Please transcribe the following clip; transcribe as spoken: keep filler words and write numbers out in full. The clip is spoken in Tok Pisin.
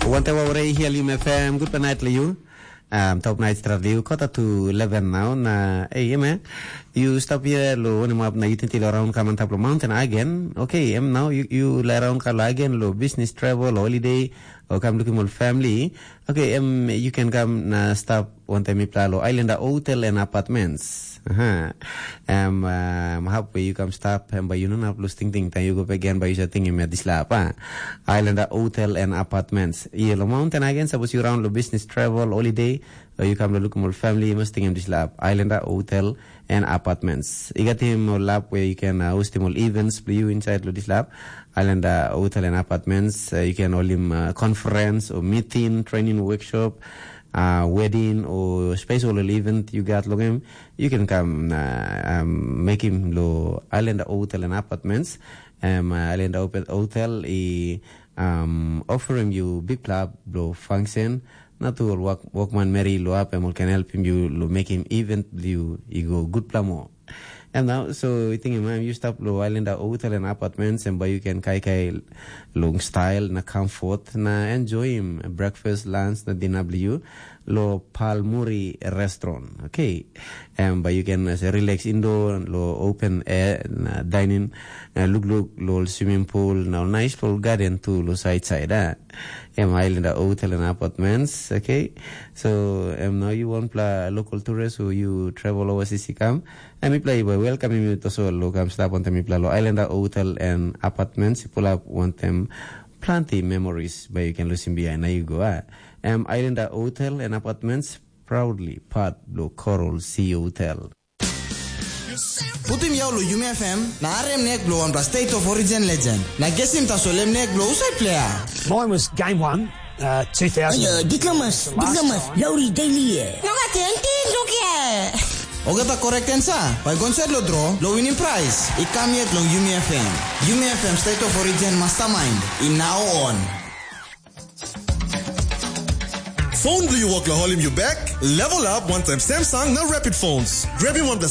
Wante wa ore hial yum F M, good night le you. Um, top night strat le you, quarter to eleven now, na, hey, yeah, man, you stop here lo one map na you think lo around come on top lo mountain again. Okay, em now you, you lie around kalo again lo business travel, holiday, or come looking all family. Okay, em you can come na stop one time mipla lo Islander Hotel and Apartments. Aha. Em um, halfway you come stop em by you no have lose thinking time you go back again by you say thinking me this lap. Ah. Islander Hotel and Apartments. Iya lo mountain again suppose you around lo business travel holiday or you come lo look more family you must think this lap. Islander Hotel and Apartments. You got him a lap where you can uh, host him all events for you inside lo this lap. Islander Hotel and Apartments. Uh, you can hold him uh, conference or meeting, training workshop, uh, wedding or special event you got lo him. You can come uh, um, make him lo Islander Hotel and Apartments. Um, uh, Islander Hotel i um, offer him you big club lo function. Na tu ol work, workman meri lo ap em ol can help him you lo make him event you i go good pla mo. And now, so you think man, you stop lo Islander Hotel and Apartments and by you can kai kai long style na comfort na enjoy him breakfast, lunch na dinner bli you lo Palmuri Restaurant. Okay. And by you can uh, relax indoor lo open air na dining, uh, look look lo swimming pool na nice lo garden too lo side side. Ah. Em Islander Hotel and Apartments, okay? So, em now you want pla local tourists who you travel overseas you come, and mipla i welcome you to so lo kam stap on mipla lo Islander Hotel and Apartments, you pull up want them plenty memories but you can lose him behind. Now you go, ah. Em Islander Hotel and Apartments proudly part lo Coral Sea Hotel. Putim yau lo Yumi F M na arem nek bilong wanpela State of Origin legend. Na gesim tasol em nek bilong husat player. Mine was game one, uh, two thousand. Ayo, diplomas, diplomas, lauri daily ye. No gat enti, look here. Ogata correct answer. Bai gonset lo draw, lo winning prize. I kam yet long Yumi F M. Yumi F M State of Origin Mastermind. I now on. Phone do you work la holim you back? Level up one time Samsung na Rapid Phones. Grabbing one the